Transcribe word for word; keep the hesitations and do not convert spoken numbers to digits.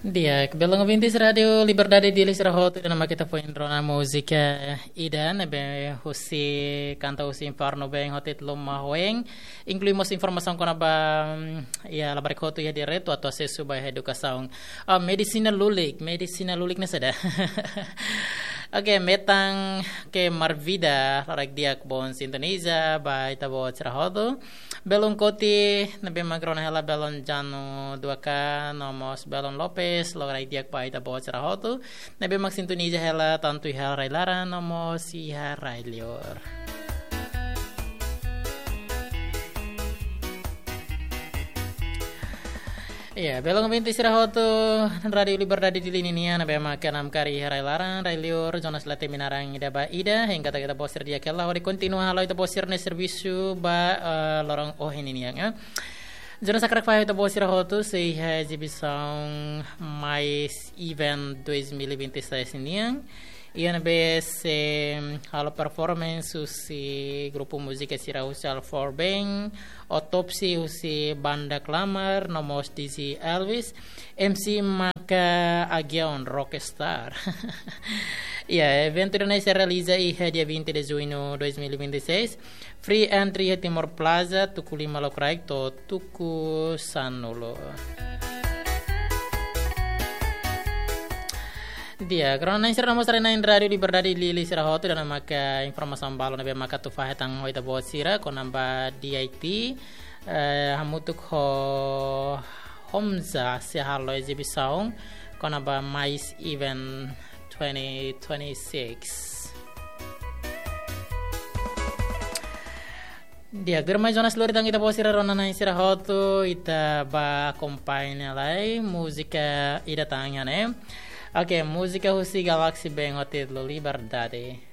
Di'ak, belun ouvintes Rádiu Liberdade Dili sira hotu, ida-ne'e mak ita foin rona múzika ida ne'ebé husi kanta husi Inferno Band ho títulu Mahueng, inklui mós informasaun kona-ba, mm, iha labarik hotu iha direitu atu asesu ba edukasaun. Ah, medisina lulik, medisina lulik ne'e saida? Oke, metan ke Marvida, loraik di'ak boot sintoniza ba ita-boot sira hotu. Belun Koti, ne'ebé mak rona hela belun Janu dua K, no mós belun Lopes, loraik di'ak ba ita-boot sira hotu. Ne'ebé mak sintoniza hela tantu iha rai-laran, no mós iha rai-liur. Iya, belun ouvintes sira hotu, Rádiu Liberdade Dili nian, ne'ebé mak keenam kari iha rai-laran, rai-liur, zona selatan Minarang ida ba ida, hengka ita-boot sira di'ak hela, hodi kontinua halo ita-boot sira-nia servisu ba, eh, loron ohin nian, ya. Zona sakrak fai ita-boot sira hotu, sei iha exibisaun Mais Event dois mil e vinte e seis nian. Iha ne'ebé sei halo performance husi grupu múzika sira husi Alfor Band, Autopsi husi Banda Klamar, no mós D J Elvis, M C maka Agion Rockstar. Ya, eventu ida-ne'e sei realiza iha dia vinte de junho dois mil e vinte e seis. Free entry iha Timor Plaza, tuku lima lokraik to'o tuku sanulu. Di'ak, rona-na'in sira no mós haree-na'in Rádiu Liberdade Dili sira hotu, ida-ne'e maka informasaun balun ne'ebé mak atu fahe tan ho ita-boot sira kona-ba D I T, eh, hamutuk ho Homza sei halo exibisaun kona-ba Mais Event twenty twenty-six. Di'ak, tuirmai zona selori tan ita-boot sira rona-na'in sira hotu, ita bá akompaña lai múzika ida tan iha ne'e. Oke, múzika husi Galaxy Band ho títulu Liberdade.